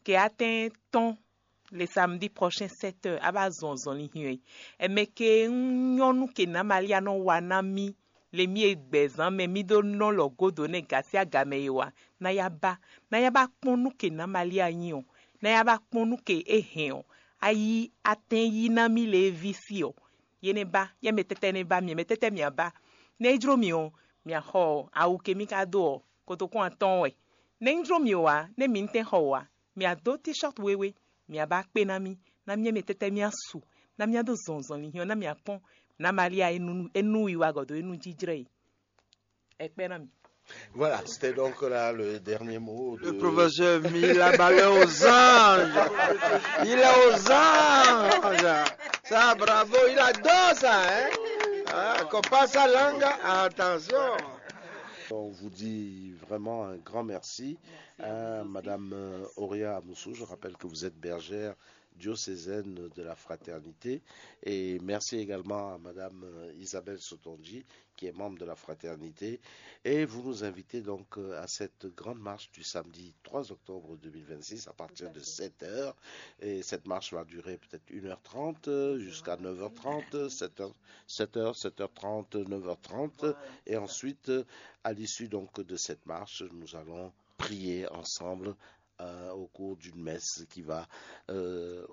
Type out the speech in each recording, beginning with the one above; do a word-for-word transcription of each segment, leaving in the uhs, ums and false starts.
Kɛ atɛ́n tɔn le samedi prochain sept heures a ba zɔn zɔnlin hiɔn. Ɛmɛ ke un nyɔnu ke na Malia nɔ wa na mí le mí e gbɛzán mɛ mí ɖó nɔ lɔ godo nɛ gasi agamɛ e wa na ya ba na ya ba kpɔn nú ke na Malia nyi ɔ, na ya ba kpɔn nú ke e hɛn ɔ, a yi atɛn yi na mí le e ví sí ɔ. Ye nɛ ba, yɛ mɛ tɛtɛ nɛ ba, mɛ mɛ tɛtɛ mia ba. Nɛ e jló mi ɔ, mia xɔ awu ke mí ka dó ɔ, kotokún atɔn wɛ. Nɛ e jló mi ɔ wá, nɛ mi tɛn xɔ wá, mia dó t-shirt wewe, mia ba kpé ná mí, ná mí mɛ tɛtɛ mia su, ná mía dó zɔnzɔn linhyɔn ná mia kpɔn, ná Malia e nu e nu wiwa gɔdo e nu jijlɛ yi. Ɛ kpɛ ná mi. Voilà, c'était donc là le dernier mot. Le professeur Mila Ballet aux anges. Il est aux anges. Ça, bravo, il adore ça, hein. Ah, qu'on passe sa langue, attention. On vous dit vraiment un grand merci à Madame euh, Auria Amoussou. Je rappelle que vous êtes bergère diocésaine de la fraternité. Et merci également à Madame euh, Isabelle Sotonji, qui est membre de la fraternité. Et vous nous invitez donc euh, à cette grande marche du samedi trois octobre deux mille vingt-six à partir de sept heures. Et cette marche va durer peut-être une heure trente euh, jusqu'à neuf heures trente, sept heures, sept heures, sept heures trente, neuf heures trente. Et ensuite, euh, à l'issue donc de cette marche, nous allons prier ensemble euh, au cours d'une messe qui va euh,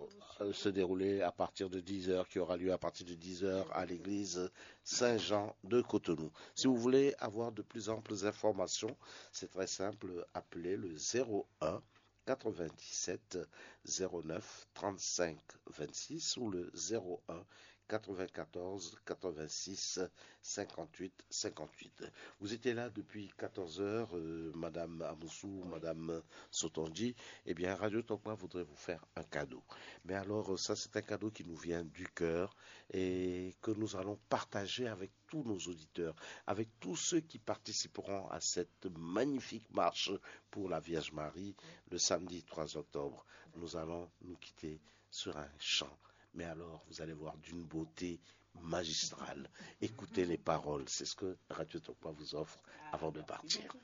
se dérouler à partir de dix heures, qui aura lieu à partir de dix heures à l'église Saint-Jean de Cotonou. Si vous voulez avoir de plus amples informations, c'est très simple, appelez le zéro un quatre-vingt-dix-sept zéro neuf trente-cinq vingt-six ou le zéro un quatre-vingt-quatorze quatre-vingt-six cinquante-huit cinquante-huit. Vous étiez là depuis quatorze heures, euh, Madame Amoussou, Madame Sotonji. Eh bien, Radio Tokma voudrait vous faire un cadeau. Mais alors, euh, ça, c'est un cadeau qui nous vient du cœur et que nous allons partager avec tous nos auditeurs, avec tous ceux qui participeront à cette magnifique marche pour la Vierge Marie le samedi trois octobre. Nous allons nous quitter sur un chant. Mais alors, vous allez voir d'une beauté magistrale. Écoutez les paroles, c'est ce que Radio Tokma vous offre avant de partir.